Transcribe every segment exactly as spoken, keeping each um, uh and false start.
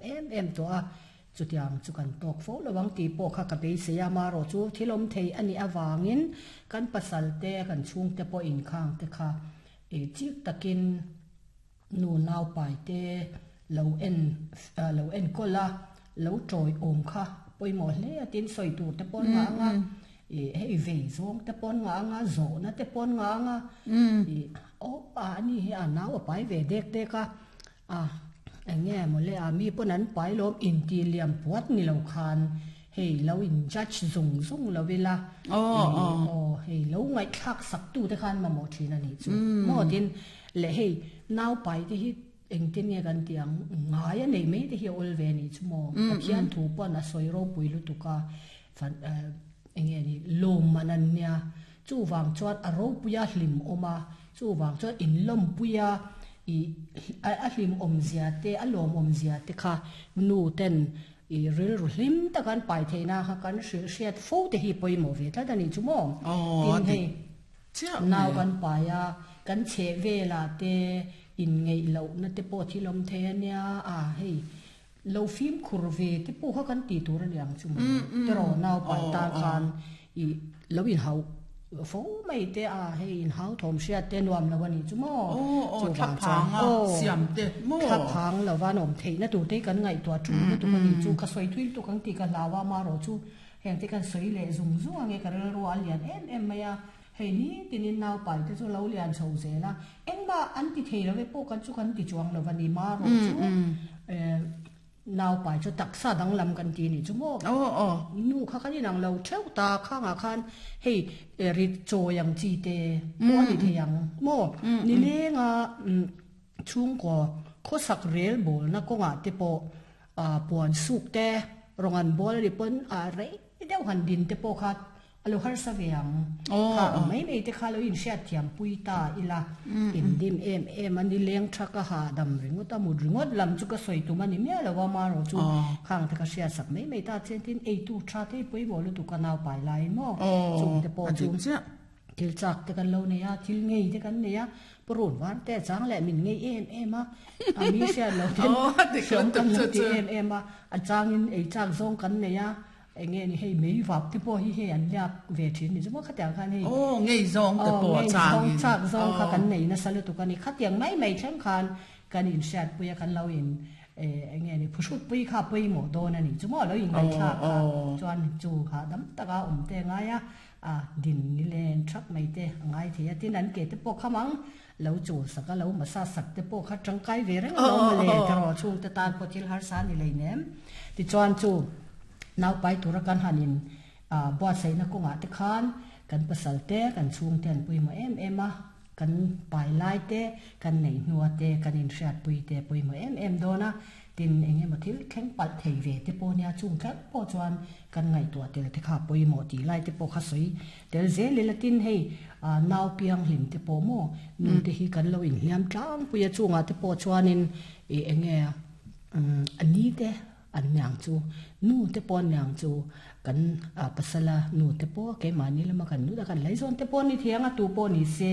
thiam em em tawh a, chutiang chu kan tawk fo lo ang tih pawh kha ka beisei a, marawh chu thil awm thei a nih avangin kan pasal te kan chhungte pawh inkhang te kha ih chik takin nu nau pai te lo en lo enkawl a, lo tawi awm kha pawimawh hle a tin sawi tur te pawh an ngah ang a, ih hei vei zawng te pawh an ngah ang a, zawhna te pawh an ngah ang a, ih aw a ni hi a nau a pai ve dek dek a, a eng nge mawle a mi pawn an pai lawm intih liam puat ni lo khan hei lo in judge zung zung lo ila, ih aw hei lo ngaihthlak sak tu te khan mamawh thin a nih chu maw tin leh hei nau pai te hi engtin nge kan tih ang ngai a neih mai te hi a awl ve a nih chu maw Pathian thu pawn a sawi ropui lutuk a fan eng nge ni lawmman an nia chuvang chuan a ropuia hlim awm a chuvang chuan inlawmpuia ih a hlim awmzia te a lawm awmzia te kha nu ten ih rilru hlim tak an pai theihna kha kan hrilh hriat fo te hi pawimawh ve tlat a nih chu maw tin hei nau kan pai a kan chheh velah te inngeih lohna te pawh thil awm thei a nia a hei lo fimkhur ve te pawh kha kan tih tur a ni ang chu maw tiraw nau pai tan khan ih lo inhauh fo mai te a hei inhau thawm hriat te nuam lo a nih chu maw chuvang chuan aw thlaphang lova an awm theihna tur te hi kan ngaihtuah tul lutuk a nih chu ka sawi thui lutuk ang tih ka hlau a amaherawh chu heng te kan sawi leh zung zung ang e ka rilru a lian em em mai a. Hei ni tinin naupai te chu lo lian chho zel a, engmah an ti thei lo e pawh kan chu kan ti chuang lo a ni marawh chu naupai chu taksa danglam kan ti nih chu maw? Nu kha kan inang lo theuh ta khangah khan hei rit chawi ang chi te pawh a ni thei ang maw? Nilenga chhungkaw khawsak rel bawlna kawngah te pawh puan suk te rawng an bawl a ni pawn a rei deuh han din te pawh kha A lo harsa ve ang. Kha ang mai mai te kha lo inhriat thiam pui ta ila, indim em em a ni leng tha ka hahdam ringawt a, mut ringawt lam chu ka sawi tum a ni miah lo a, marawh chu khang te ka hriat sak mai mai ta chian tin eitu tha te hi pawimawh lutuk a nau pai laiin maw chung te pawh chu thil chak te kan lo nei a, thil ngei te kan nei a, purun var te a chang leh min ngei em em a, a mi hriat lo ten hriawm kan lo ti em em a, a changin ei chak zawng kan nei a. Eng nge ni hei mei vap te pawh hi hei an liak ve thin ni chu maw khatiang khan hei Aw ngei zawng te pawh a changin Aw ngei zawng chak zawng kha kan nei nasa lutuk a ni khatiang mai mai thleng khan kan inhriatpui a kan lo in eng nge ni phuhrukpui kha pawimawh dawn a ni chu maw lo inngaihthlak kha chuan chu hahdam taka awm te a ngai a a din ni len thak mai te a ngai thei a tin an ke te pawh kham ang lo chul sak a lo massage sak te pawh kha tangkai ve reng a lo mawle tiraw chhungte tan pawh thil harsa a ni leinem tichuan chu Naupai tura kan han in buatsaihna kawngah te khan kan pasal te, kan chhungte an pawimawh em em a, kan pai lai te, kan neih hnua te, kan inhriatpui te pawimawh em em dawn a, tin eng emaw thil thleng palh thei ve te pawh nia chung thleng pawh chuan kan ngaihtuah tel te kha pawimawh tih lai te pawh kha sawi tel zel ila tin hei nau pianghlim te pawh maw nu te hi kan lo inhliam tlangpui a chungah te pawh chuanin ih eng nge a ni te An niang chu nu te pawh an niang chu kan pasala nu te pawh keimahni lama kan nu kan laizawn te pawh a ni thei ang a tu pawh ni se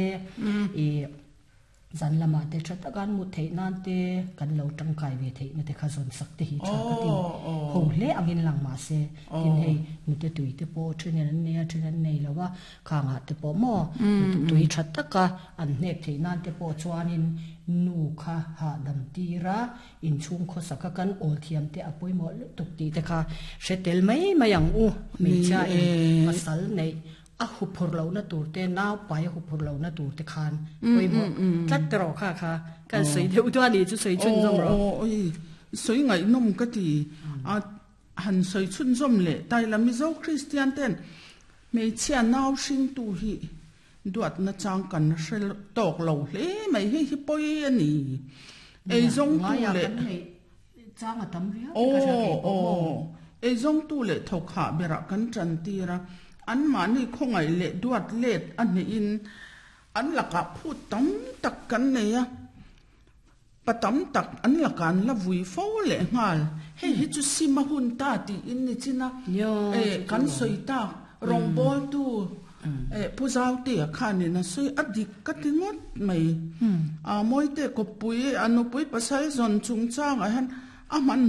ih zan lamah te tha taka an mut theih nan te kan lo tangkai ve theih na te kha zawn sak te hi tha ka ti ho hle angin lang mah se tin hei nute tui te pawh then an nei a then an nei lo a khangah te pawh maw nute tui tha taka an hnek theih nan te pawh chuanin nu kha hahdam tir a Inchhung khawsaka kan awl thiam te a pawimawh lutuk tih te kha hre tel mai mai ang u. Hmeichhia in pasal neih a huphur lohna tur te, nau pai a huphur lohna tur te khan pawimawh tlat te rawh kha kha kan sawi deuh duah a nih chu sawi chhunzawm rawh. Aw aw sawi ngaihnawm ka ti a, han sawi chhunzawm leh taila Mizo Kristian ten hmeichhia nau hringtu hi Duatna chang kan hre tawk lo hle mai, hei hi pawi a ni. Eizawngtu leh Aw aw eizawngtu leh thawkhah berah kan tan tir a, anmahni khawngaih leh duat let a hnehin an lakah phut tam tak kan nei a, pa tam tak an lakah an la vui fo leh nghal. Hei hi chu sim a hun ta tiin ni chin a, kan sawi tak rawngbawltu Pu Zautea khanin a sawi a dik ka ti ngawt mai. Mawite kawppui a nupui pasal zawn chungchangah hian a hman